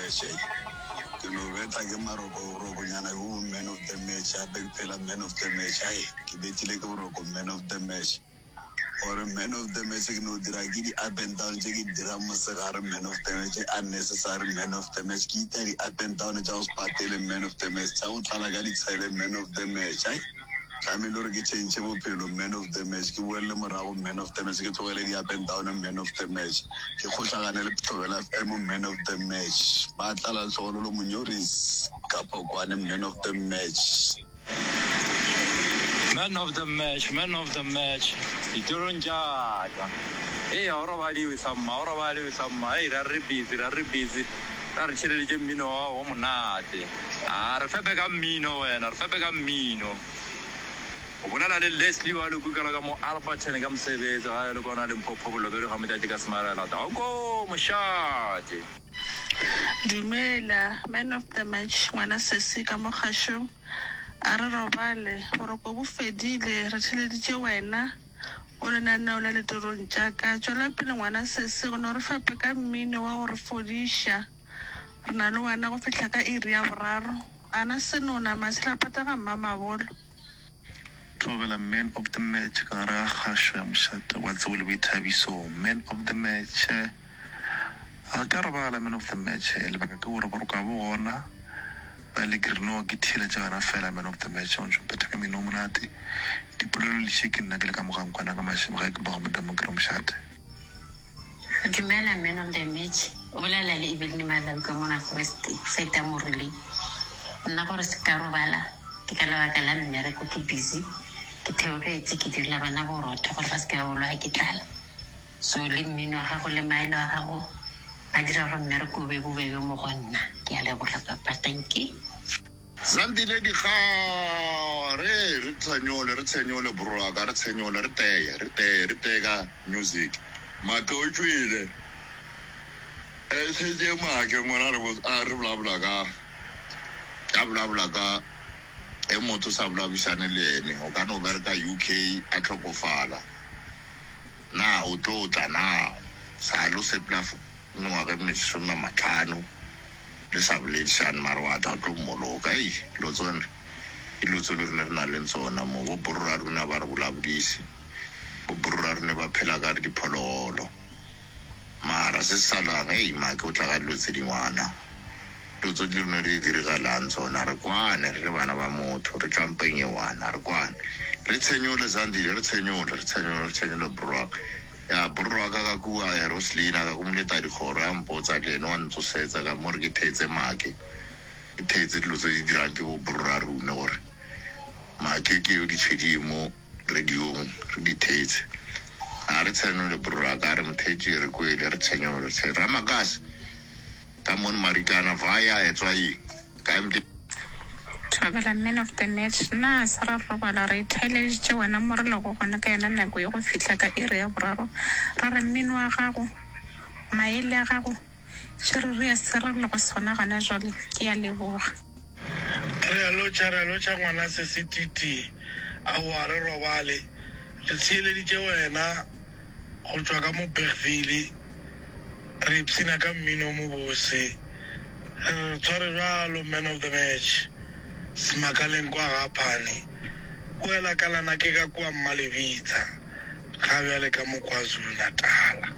match ei. Ke no betha ke marokorokonyana ke bo man of the match gape ke phela man of the match ai ke bethile ke boroko man of the match. Gore man of the match ke no dira ke di up and down tše ke di dirang mosegare man of the match unnecessary man of the match ke ita di up and down tša go se patele man of the match tša go tlala ka ditshele man of the match ai tlamehile gore ke change bophelo man of the match ke boelele morago man of the match ke tlogele di up and down man of the match ke kgohlagane le Thobela FM man of the match ba tlala Lehlogololo Monyoris ka Phokwane man of the match. Man of the match, man of the match, ditorong tša ka. Hei, ga o robadiwe samma, ga o robadiwe samma. Hei, ra re busy, ra re busy, ra re tšhireletše mmino wa gago o monate. A re fepe ka mmino wena, re fepe ka mmino. O bolela le Leslie wa Lekukela ka mo Alberton ka mosebetsi, gae le kwana Limpopo, Bolobedu ga Motšatši ka Semarela. Danko mošate. Dumela man of the match ngwana sesi ka mo kgašong a re robale boroko bo fedile re theleditše wena o lenaneo la ditorong tša ka tšwela pele ngwana sesi o no re fepe ka mmino wa go re fodiša re na le wena go fihla ka iri ya boraro ana senona matshelapata ga mmamabolo. Thobela Man of the Match ka gare ga kgašo ya mošate wa tsebo le boithabiso. Man of the Match Ga ka robala Man of the Match lebaka ke gore boroko ga bo gona ba le ke re no ke theeletša wena fela Man of the Match o ntšo mphetha ka mino o monate dipolelo le še ke nna ke le ka mogankwana ka mašemo ge ke boga modamo ke re mošate. Dumela man of the match, o bolela le Eveline Malau ka mo North West, site ya Moruleng. Nna gore se ka robala ke ka lebaka la mmereko ke busy, ke theogetše ke direla bana borotho gore ba se ke ba bolaya ke tlala. So le mmino wa gago le maele wa gago a dira gore mmereko o be bobebe mo go nna. Ke a leboga papa, dankie. Zandile Dikgare, re tshenyole, re tshenyole bro wa ka, re tshenyole, re teye, re teye, re teye ka music. Make o tšwele. E šetše make ngwana re a re bolabola ka, a bolabola ka e motho sa bolabišane le ene, o ka no bereka UK a hlokofala. Na o tlo tla na? Sa lo sepela mengwaga e mesomemahlano. Le sa boledišane mara wa tla o tlo mmoloka. Ei, dilo tsone ke dilo tse le rune re nang le tsona mo. Bo borra rune a ba re bolabodise. Bo borra rune ba phela ka re diphologolo. Mara se se salang, ei, make o tla ka dilo tse dingwana. Dilo tso di rune di dirigalang tsona, re kwane re le bana ba motho, re tšwa mpeng e one, a re kwane. Re tshenyole, Zandile, re tshenyole, re tshenyole, re tshenyole bro. Ya borro wa ka ka kua Roslina ka ku Moletadikgoro a mpotsa le ene wa ntsosetsa ka mo re ke theetse make ke theetse dilo tse di dirang ke bo borra rune gore make ke yo di tshwediye mo radiong re di theetse a re tshenole borro wa ka a re motheetši re kwele re tshenyole re tshe Ramakase ka mono Marikana via Etswaing ka MD. Thobela Man of the match, Na se ra robala re itheeleditše wena mo re lego gona ka yona nako ye go fihla ka iri ya boraro, ra re mmino wa gago, maele a gago, tše re rea se re lego sona gona jwale. Ke a leboga. Re a lotšha, re a lotšha ngwana sesi Titi. Aowa re robale, re theeleditše wena go tšwa ka mo Bergville. Re ipshina ka mmino o mobose. Re re tshware bjalo man of the match. Semakaleng kwa ga Phane. Boela kalana ke ka kua Mmalebitsa. Ga bjale ka mo KwaZulu Natala.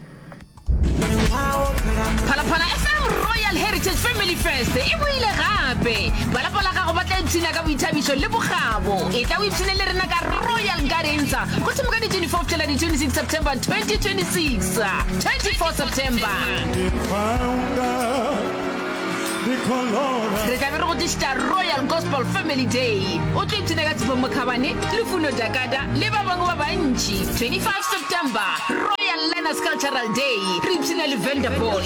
Phalaphala FM Royal Heritage Family Fest e boile gape. Ba lapa la gago ba tla ipshina ka boithabišo le bokgabo. Etla o ipshine le rena ka Royal Gardens go thoma ka di 24 go fihlela di 26 September 2026. 24 September. Re tla be re go tlišetša Royal Gospel Family Day. O tlo ipshina ka Tshepo Mokhabane, Lufuno Dakada le ba bangwe ba bantši. 25 September, Royal Learners Cultural Day. Re ipshina le Vanderpool.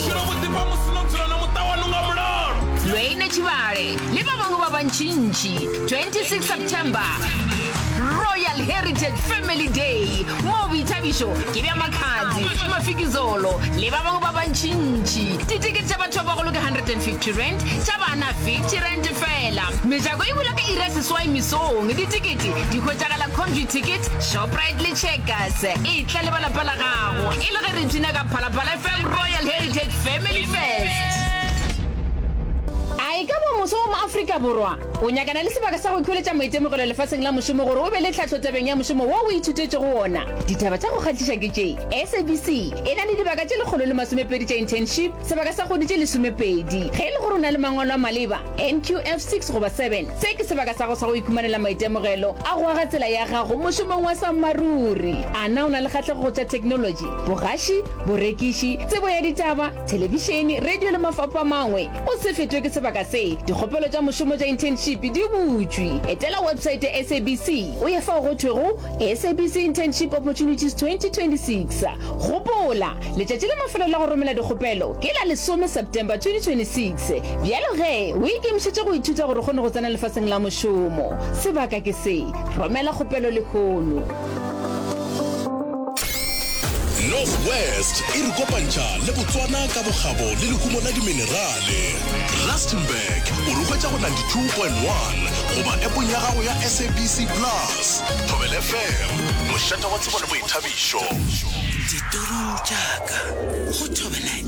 Lwayne Tshibale le ba bangwe ba bantšintši. 26 September, Royal Heritage Family Day, moo boithabišo ke bja Makhadzi, Mafikizolo le ba bangwe ba bantšintši. Ditekete tša batho ba bagolo ke R150, tša bana R50 feela. Mejako e bula ka iri ya seswai mesong. Ditekete di hwetšagala Computicket, Shoprite le Checkers. Etla le ba lapa la gago e le ge re ipshina ka Phalaphala FM Royal Heritage Family Fest. Afrika Borwa? O nyakana le sebaka sa go ikhweletša maitemogelo lefaseng la mošomo gore o be le tlhahlo tabeng ya mošomo wo o ithutetšego wona? Ditaba tša go kgahliša ke tše, SABC e na le dibaka tše 120 tša internship, sebaka sa kgwedi tše lesomepedi. Ge e le gore o na le mangwalo a maleba, NQF 6 goba 7, se ke sebaka sa gago sa go ikhumanela maitemogelo a go aga tsela ya gago mošomong wa sammaruri. A na o na le kgahlego go tša theknolotši, bogaši, borekiši, tsebo ya ditaba, thelebišene, radio le mafapho a mangwe? O se fetwe ke sebaka se. Dikgopelo tša mošomo tša internship di butšwe. Etela websaete ya SABC o ye fao go thwego SABC Internship Opportunities 2026. Gopola, letšatši la mafelelo la go romela dikgopelo ke la lesome September 2026. Bjalo ge, o ikemišetše go ithuta gore o kgone go tsena lefaseng la mošomo. Sebaka ke se. Romela kgopelo lehono. North West e re kopantšha le Botswana ka bokgabo le lehumo la diminerale. Rustenburg o re hwetša go 92.1 goba appong ya gago ya SABC Plus. Thobela FM, mošate wa tsebo le boithabišo. Ditorong tša ka go Thobela.